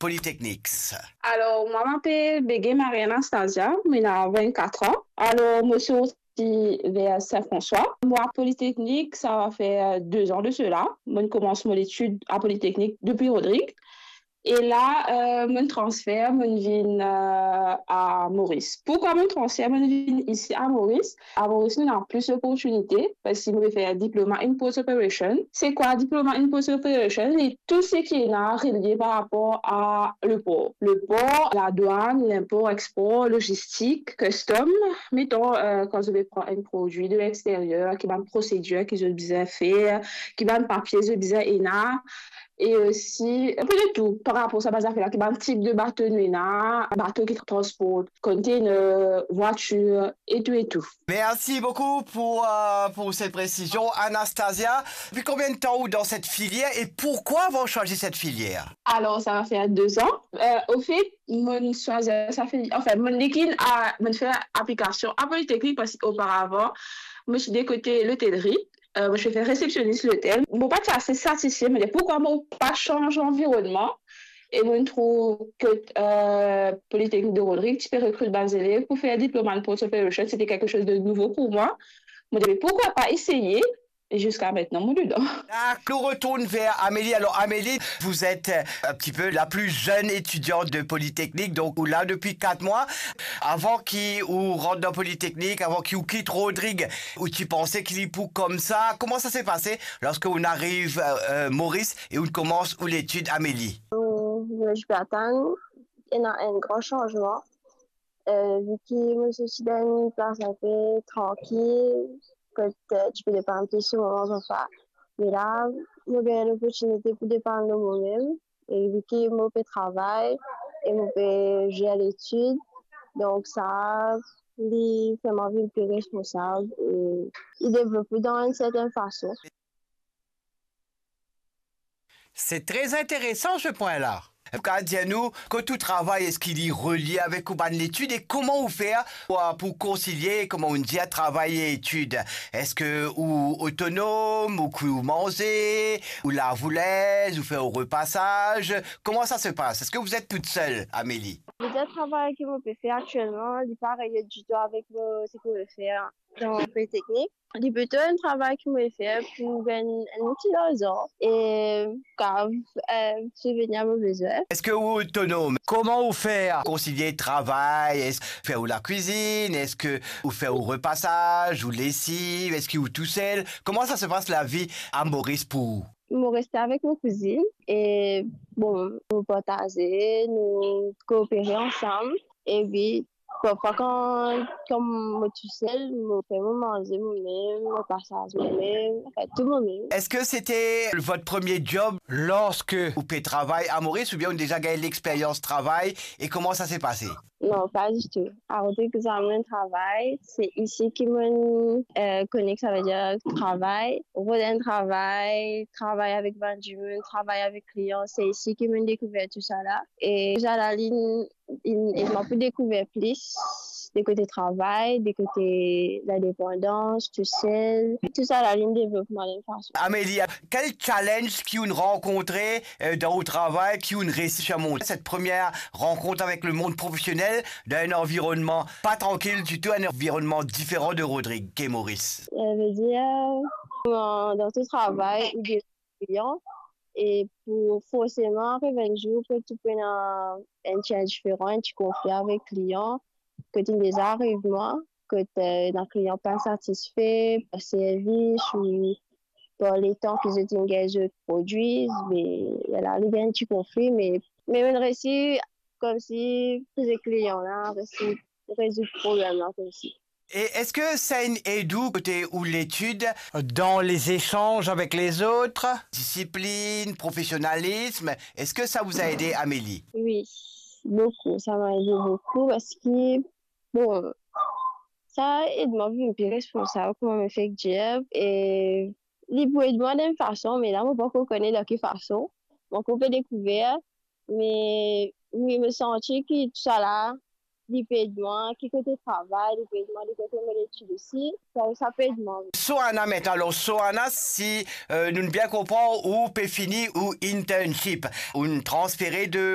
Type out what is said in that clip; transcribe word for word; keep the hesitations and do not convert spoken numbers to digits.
Polytechnics. Alor, mwa, mo apel Bege Marie Anastasia, mo ena vennkat an. Alor, mo sorti ver Saint-François. Mwa, Polytechnique, sa va fer de an de sela. Mo koumans mo letid a Polytechnique depi Rodrig. E la, euh, mo transfer, mo vinn, euh, a Moris. Poukwa mo transfer, mo vinn isi a Moris? A Moris, nou ena plis loportinite, parski mo pe fer diploma in port operation. Se kwa diploma in port operation? Li tou seki ena relie par rapor a lepor. Lepor, ladwann, linpor, ekspor, logistik, custom. Meton, euh, kan zot pe pran enn prodwi de lexteryer, ki bann prosedir ki zot bizin fer, ki bann papie zot bizin ena, e osi, enn pe de tou par rapor sa bann zafer la, ki bann tip de bato nou ena, bato ki transport container, vwatir, e tou, e tou. Merci beaucoup pour, euh, pour cette précision, Anastasia. Depuis combien de temps ou dans cette filière et pourquoi avoir choisi cette filière? Alor, sa va fer de an. Euh, ofet, mo swazir sa filier, anfin, mo vinn a, mo fer aplikasion a Polytechnique parski oparavan, mo ti de kote lotelri, euh, mo ti fer resepsionis lotel. Mo pa ti ase satisfe, mo dir, poukwa mo pa sanz lanvironnman? E mo trouv ki, euh, Polytechnique de Rodrig ti pe rekrit bann zelev pou fer diploma in port operation, sete kiksoz de nouvo pou mwa. Mo dir, me poukwa pa eseye? E ziska aster, mo dedan. Dakor, nou retourn ver Amélie. Alors, Amélie, vous êtes, euh, un petit peu la plus jeune étudiante de Polytechnique, donc ou la depuis quatre mois. Avan ki ou rant dan Polytechnique, avan ki ou kit Rodrig, ou ti panse ki li pou koumsa? Kouma sa se pase lorsque ou ariv, euh, euh, Moris e ou koumans ou letid, Amélie? Mo, mo ti pe atann ena enn gran sanzman. Euh, vi ki mo sorti dan enn plas inpe trankil, kot, euh, ti pe depann plis lor mama, papa. Me la, mo gagn loportinite pou depann lor momem. E vi ki mo pe travay e mo pe zer letid, donk sa, li fer mwa vinn pli responsab e li devlop mwa dan enn sertenn fason. C'est très intéressant, ce point-là. Ou kapav dir nou, kot ou travay, eski li relie avek ou bann letid e kouma ou fer pou, pou konsilie, kouma ou dir, travay e etid? Eski ou otonom, ou kwi ou manze, ou lav ou linz, ou fer ou repasaz? Kouma sa se pas? Eski vous êtes toute seule, Amélie? Li enn travay ki mo pe fer aktielman, li pa relie ditou avek mo, seki mo pe fer dan Polytechnique. Li plito enn travay ki mo pe fer pou gagn enn ti larzan e kapav, euh, sibveni a mo bezwin. Eski ou otonom? Kouma ou fer konsilie travay? Eski ou fer ou lakwizinn? Eski ou fer ou repasaz, ou lesiv? Eski ou tousel? Kouma sa se pas lavi a Moris pou ou? Mo reste avek mo kouzinn e, bon, nou partaze, nou koopere ansam. Epi parfwa kan, kan mo tousel, mo fer mo manze momem, mo pasaz momem, anfin, tou momem. Eski sete votre premier job lorsque ou pe travay a Moris oubien ou deza gagn lexperyans travay e kouma sa se pase? Non, pa ditou. Akoz ki sa, mo travay, se isi ki mo, euh, kone ki savedir travay, rod enn travay, travay avek bann dimoun, travay avek klian, se isi ki mo dekouver tousala. E tousala li, li ed mwa pou dekouver plis de kote travay, de kote lindepandans, tousel. Tousala li devlop mwa dan enn fason. Amélie, quel challenge ki ou rankontre, euh, dan ou travay, ki ou resi sirmonte? Cette première rencontre avec le monde professionnel dans un environnement pas tranquille du tout, un environnement différent de Rodrig ki Moris. Euh, vedir, euh, dan tou travay, ou de klian, e pou forseman ariv enn zour kot ou pou ena enn ti indiferan, enn ti konfli avek klian, kot inn deza ariv mwa, kot, euh, ena klian pa satisfe par servis ou par letan ki zot inn gagn zot prodwi, me la li gagn ti konfli, me, me mo resi koumsi koze klian la, resi rezoud problem la koumsi. Et est-ce que ça a aidé ou côté ou l'étude dans les échanges avec les autres? Discipline, professionnalisme, est-ce que ça vous a aidé, Amélie? Oui, beaucoup. Ça m'a aidé beaucoup parce que, bon, sa ed mwa vinn pli responsab, kouma mo fek dir, e li pou ed mwa dan enn fason, me la mo pankor kone dan ki fason. Mo ankor pe dekouver, me wi, mo santi ki tousala, li pe ed mwa, ki kote travay, li pe ed mwa, ki kote mo letid osi, sa, sa pe ed mwa, wi. Soana, met alor Soana, si, euh, nou bien konpran, ou pe fini ou internship, ou transfere de